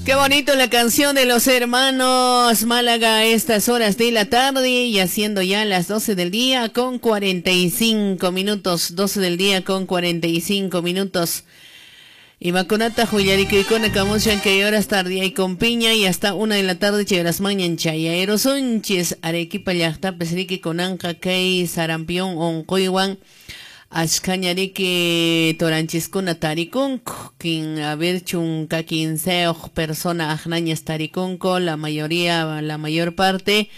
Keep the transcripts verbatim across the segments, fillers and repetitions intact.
Qué bonito la canción de los hermanos Málaga a estas horas de la tarde y haciendo ya las doce del día con cuarenta y cinco minutos, doce del día con cuarenta y cinco minutos. Y vacunata huillarikuykuna kamushan kay horas tarde y con piña y hasta una de la tarde chayras mañan chayaerosunchis Arequipa llaqtapis riki kunanqa kay sarampión onquywan ashkañariki toranchiskuna tarikunku, quien a ver chunka quinseyuq persona aqnañas tarikunku, la mayoría, la mayor parte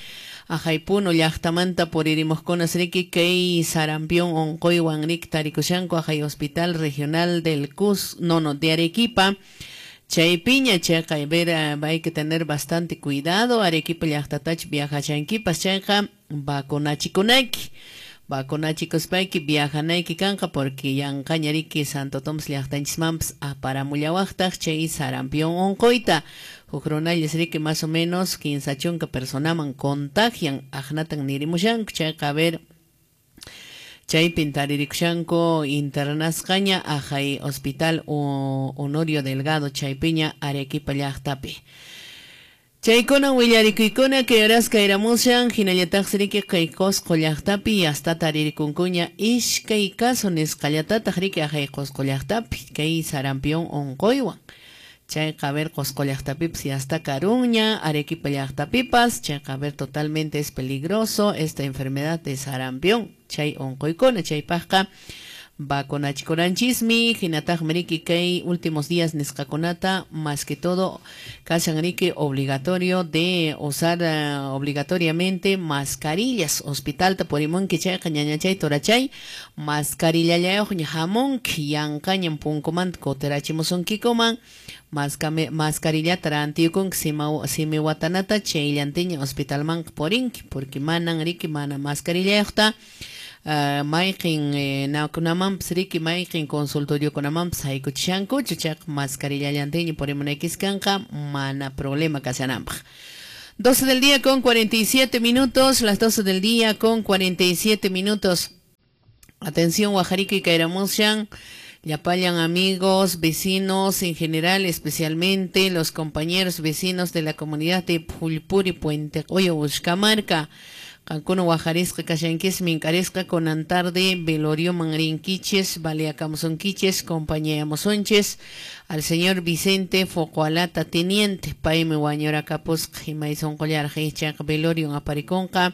ajaypuno llaqtamanta puririmuqkunas riki kay sarampión onquywan riki tarikushanku ajay hospital regional del Cus, no no de Arequipa. Chaypiña chayqa, a ver, hay que tener bastante cuidado, Arequipa llaqtatach viajashankipas chayqa vacunachikunayki. Vacunachikuspanki viajanayki kanqa porque yanqaña riki Santo Tomás llaqtanchismanpas aparamullawaqtaq chay sarampión onquyta. Huk runallas riki más o menos quince chunka personaman contagian aqnatan nirimushanku chayqa a ver chaypin taririkushanku internasqaña ajay hospital Honorio Delgado chaypiña Arequipa llaqtapi. Chaykuna willarikuykuna kay horas kayramushan hinallataqsi riki kay Qosqo llaqtapi hasta taririkunkuña iskay caso nisqallatataq riki ajay Qosqo llaqtapi kay sarampión onquywan. Chayqa a ver Qosqo llaqtapipas hasta karuña Arequipa llaqtapipas chayqa a ver totalmente es peligroso esta enfermedad de sarampión chay onquykuna chaypaqqa vacunachikunanchismi hinataqmi riki kay últimos días nisqakunata más que todo kashan riki obligatorio de usar uh, obligatoriamente mascarillas hospitalta purimunki chayqa ñañachay torachay mascarillallayuqña hamunki yanqañan punkumanta kutirachimusunkikuman mascarillata rantiyukunki simi watanata chayllantiña hospitalmanqa purinki porque manan riki mana mascarillayuqta Uh, mayqin eh, nakunamanpas riki mayqin consultoriokunamanpas haykuchishankuchu chayqa mascarillallantiña purimunaykis kanqa mana problema kashananpaq. doce del día con cuarenta y siete minutos, las doce del día con cuarenta y siete minutos. Atención Guajarico y Kairamushan, llapallan amigos, vecinos en general, especialmente los compañeros vecinos de la comunidad de Pulpuri, Puente Coyo, Uscamarca. Cancún, Guajarisca, Cashanquis, Mincaresca, Conantarde, Velorio, Mangrinquiches, Baleacamusonquiches, Compañía Mosonches, al señor Vicente Focoalata, Teniente, Paime Guañora Capos, Jimaison Collar, Hichak, Velorio, Apariconca,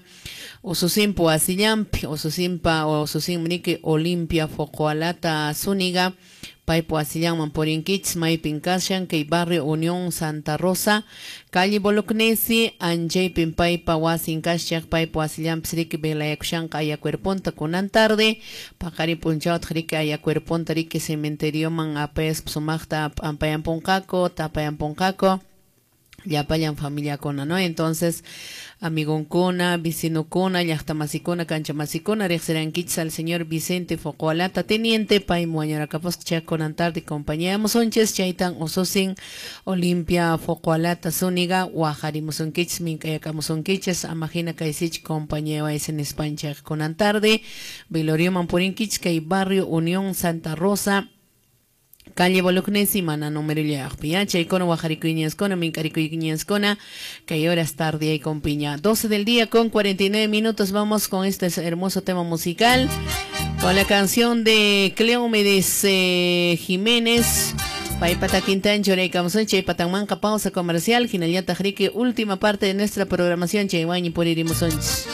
Osusimpo, Asillampi, Osusimpa, Osusimrique, Olimpia, Focoalata, Zúñiga, Paipo Asillan, Porinquich, Maipin Kashan, Kay Barrio Unión Santa Rosa, Calle Bolognesi, Anjay Pimpaipa, Wasin Kashak, Paipo Asillan, Psrik, Belayakushan, Ayacuerponta, Kunan tarde, Pacari Punchaut, Rike, Ayacuerponta, Rike, Cementerio, Man, Apes, Psumachta, Ampayamponcaco, Tapayamponcaco, Llapallan familia kona, ¿no? Entonces, amigonkuna, vecinokuna, llaqtamasikuna, kanchamasikuna, riqsirankichis al señor Vicente Focoalata, teniente, paymi wañurakapusqa chay kunan tarde compañía musonchis, chaytan ususin Olimpia Focoalata Zúñiga, waqarimusunkichis, mink'ayakamusunkichis, amahina kaysich compañía waysin nispanchaq kunan tarde, velorioman purinkichis kay barrio Unión Santa Rosa, calle Bolognesi, mana número llaqpi, ya, chaykuna waqarikuyñaskuna, mink'arikuyñaskuna, kay horas tarde y con piña. doce del día con cuarenta y nueve minutos, vamos con este hermoso tema musical, con la canción de Cleómedes eh, Jiménez, Paypata Quintancho, Choraykamusunchik, Chaypatanmanqa, pausa comercial, hinallataq riki, última parte de nuestra programación, chaywañi puririmusunchis.